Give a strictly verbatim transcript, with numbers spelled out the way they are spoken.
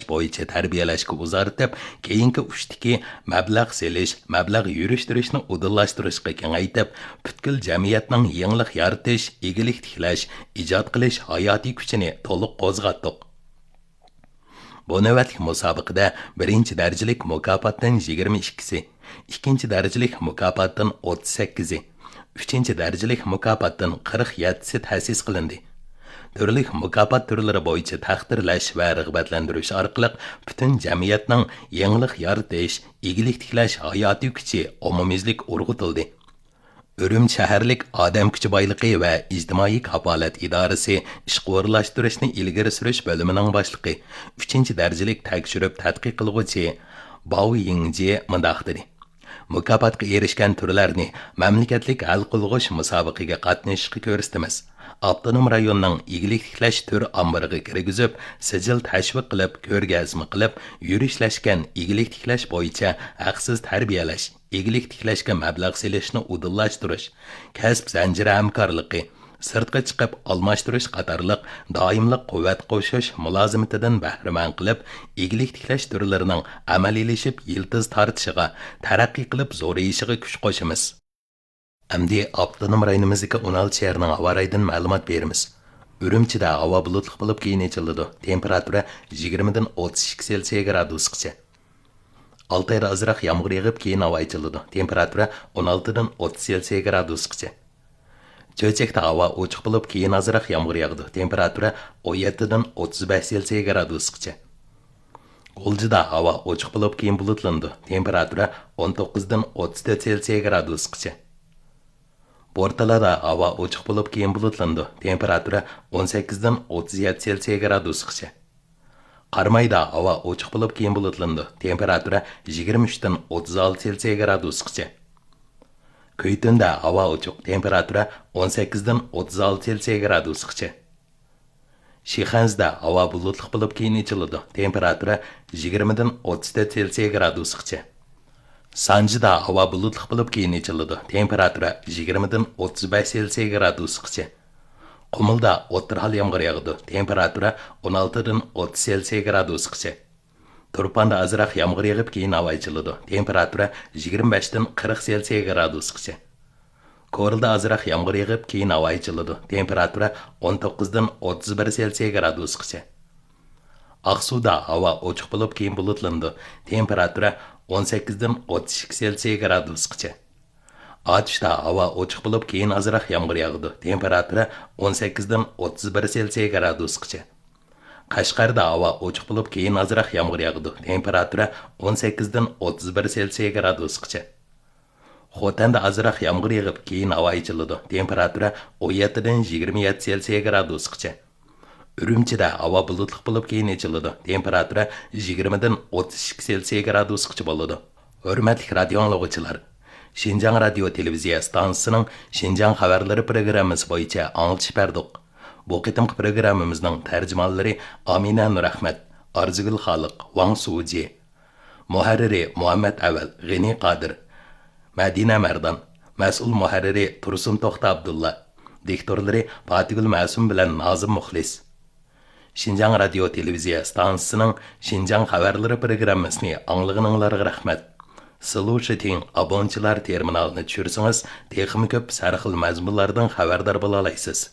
بويىچە تەربىيەلەشكە ئۇزارتىپ، كېيىنكى ئۇچتىكى مەبلەغ سېلىش، مەبلەغ يۈرۈشتۈرۈشنى ئۇدۇللاشتۇرۇشقا كېڭەيتىپ، پۈتكۈل جەمئىيەتنىڭ يېڭىلىق يارىتىش، ئىگىلىك تىكلەش، ئىجاد قىلىش ھاياتىي كۈچىنى تولۇق قوزغاتتۇق. بۇ نۆۋەتلىك مۇسابىقىدە بىرىنچى دەرىجىلىك مۇكاپاتتىن يىگىرمە ئىككىسى، ئىككىنچى دەرىجىلىك مۇكاپاتتىن ئوتتۇز سەككىزى، ئۈچىنچى دەرىجىلىك مۇكاپاتتىن قىرىق يەتتىسى تەسىس قىلىندى. تۈرلۈك مۇكاپات تۈرلىرى بويىچە تەقدىرلەش ۋە رىغبەتلەندۈرۈش ئارقىلىق پۈتۈن جەمئىيەتنىڭ يېڭىلىق يارىتىش، ئىگىلىك تىكلەش ھاياتىي كۈچى ئومۇميۈزلۈك ئۇرغۇتۇلدى. ئۈرۈمچى شەھەرلىك ئادەم كۈچى بايلىقى ۋە ئىجتىمائىي كاپالەت ئىدارىسى ئىشقا ئورۇنلاشتۇرۇشنى ئىلگىرى سۈرۈش بۆلۈمىنىڭ باشلىقى، ئۈچىنچى دەرىجىلىك تەكشۈرۈپ تەتقىق قىلغۇچى باۋ يىڭجى مۇنداق دېدى: مۇكاپاتقا ئېرىشكەن تۈرلەرنى مەملىكەتلىك ھەل قىلغۇچ مۇسابىقىگە قاتنىشىشقا كۆرسىتىمىز. ئاپتونوم رايوننىڭ ئىگىلىك تىكلەش تۈر ئامبىرىغا كىرگۈزۈپ، سىجىل تەشۋىق قىلىپ، كۆرگەزمە قىلىپ، يۈرۈشلەشكەن ئىگىلىك تىكلەش بويىچە ھەقسىز تەربىيەلەش، ئىگىلىك تىكلەشكە مەبلەغ سېلىشنى ئۇدۇللاشتۇرۇش، كەسىپ زەنجىرى ھەمكارلىقى، سىرتقا چىقىپ ئالماشتۇرۇش قاتارلىق دائىملىق قۇۋۋەت قوشۇش مۇلازىمىتىدىن بەھرىمەن قىلىپ، ئىگىلىك تىكلەش تۈرلىرىنىڭ ئەمەلىيلىشىپ يىلتىز تارتىشىغا، تەرەققىي قىلىپ زورىيىشىغا كۈچ قوشىمىز. ئەمدى ئاپتونوم رايونىمىزدىكى ئون ئالتە شەھەرنىڭ ھاۋا رايىدىن مەلۇمات بېرىمىز. ئۈرۈمچىدە ھاۋا بۇلۇتلۇق بولۇپ، كېيىن ئېچىلىدۇ. تېمپېراتۇرا يىگىرمىدىن ئوتتۇز ئىككى سېلسىيە گرادۇسقىچە. ئالتايدا ئازراق يامغۇر يېغىپ، كېيىن ھاۋا ئېچىلىدۇ. تېمپېراتۇرا ئون ئالتىدىن ئوتتۇز سېلسىيە گرادۇسقىچە. چۆچەكتە ھاۋا ئوچۇق بولۇپ، كېيىن ئازراق يامغۇر ياغىدۇ. تېمپېراتۇرا ئون يەتتىدىن ئوتتۇز بەش سېلسىيە گرادۇسقىچە. غۇلجىدا ھاۋا ئوچۇق بولۇپ، كېيىن بۇلۇتلىنىدۇ. تېمپېراتۇرا ئون توققۇزدىن ئوتتۇز تۆت سېلسىيە گرادۇسقىچە. بورتالادا ھاۋا ئوچۇق بولۇپ، كېيىن بۇلۇتلىنىدۇ. تېمپېراتۇرا ئون سەككىزدىن ئوتتۇز يەتتە سېلسىيە گرادۇسقىچە. قارامايدا ھاۋا ئوچۇق بولۇپ، كېيىن بۇلۇتلىنىدۇ. تېمپېراتۇرا يىگىرمە ئۈچتىن ئوتتۇز ئالتە سېلسىيە گرادۇسقىچە. كۈيتۈندە ھاۋا ئوچۇق، تېمپېراتۇرا ئون سەككىزدىن ئوتتۇز ئالتە سېلسىيە گرادۇسقىچە. شىخەنزىدە ھاۋا بۇلۇتلۇق بولۇپ، كېيىن ئېچىلىدۇ. تېمپېراتۇرا يىگىرمىدىن ئوتتۇز تۆت سېلسىيە گرادۇسقىچە. سانجىدا ھاۋا بۇلۇتلۇق بولۇپ، كېيىن ئېچىلىدۇ. تېمپېراتۇرا يىگىرمىدىن ئوتتۇز بەش سېلسىيە گرادۇسقىچە. قۇمۇلدا ئوتتۇرا ھال يامغۇر ياغىدۇ. تېمپېراتۇرا ئون ئالتىدىن ئوتتۇز سېلسىيە گرادۇسقىچە. تۇرپاندا ئازراق يامغۇر يېغىپ، كېيىن ھاۋا ئېچىلىدۇ. تېمپېراتۇرا يىگىرمە بەشتىن قىرىق سېلسىيە گرادۇسقىچە. كورلىدا ئازراق يامغۇر يېغىپ، كېيىن ھاۋا ئېچىلىدۇ. تېمپېراتۇرا ئون توققۇزدىن ئوتتۇز بىر سېلسىيە گرادۇسقىچە. ئاقسۇدا ھاۋا ئوچۇق بولۇپ، كېيىن بۇلۇتلىنىدۇ. تېمپېراتۇرا ئون سەككىزدىن ئوتتۇز ئىككى سېلسىيە گرادۇسقىچە. ئاتۇشتا ھاۋا ئوچۇق بولۇپ، كېيىن ئازراق يامغۇر ياغىدۇ. تېمپېراتۇرا ئون سەككىزدىن ئوتتۇز بىر سېلسىيە گرادۇسقىچە. قەشقەردە ھاۋا ئوچۇق بولۇپ، كېيىن ئازراق يامغۇر ياغىدۇ. تېمپېراتۇرا ئون سەككىزدىن ئوتتۇز بىر سېلسىيە گرادۇسقىچە. خوتەندە ئازراق يامغۇر يېغىپ، كېيىن ھاۋا ئېچىلىدۇ. تېمپېراتۇرا ئون يەتتىدىن يىگىرمە يەتتە سېلسىيە گرادۇسقىچە. ئۈرۈمچىدە ھاۋا بۇلۇتلۇق بولۇپ، كېيىن ئېچىلىدۇ. تېمپېراتۇرا يىگىرمىدىن ئوتتۇز ئىككى سېلسىيە گرادۇسقىچە بولىدۇ. ھۆرمەتلىك رادىيو ئاڭلىغۇچىلار! شىنجاڭ رادىيو تېلېۋىزىيە ئىستانسىسىنىڭ شىنجاڭ خەۋەرلىرى پروگراممىسى بويىچە ئاڭلىتىش بەردۇق. بۇ قېتىمقى پروگراممىمىزنىڭ تەرجىمانلىرى ئامىنە نۇرئەخمەت، ئارزۇگۈل خالىق، ۋاڭ سۇجى. مۇھەررىرى مۇھەممەت ئەۋەل، غېنى قادىر. مەدىنە مەردان. مەسئۇل مۇھەررىرى تۇرسۇن توختى ئابدۇللا. دىكتورلىرى پاتىگۈل مەسۇم بىلەن نازىم مۇخلىس. شىنجاڭ رادىيو تېلېۋىزىيە ئىستانسىسىنىڭ شىنجاڭ خەۋەرلىرى پروگراممىسىنى ئاڭلىغىنىڭلارغا رەھمەت. سلۇشىتىڭ، ئابونچىلار تېرمىنالىنى چۈشۈرسىڭىز، تېخىمۇ كۆپ ھەر خىل مەزمۇنلاردىن خەۋەردار بولالايسىز.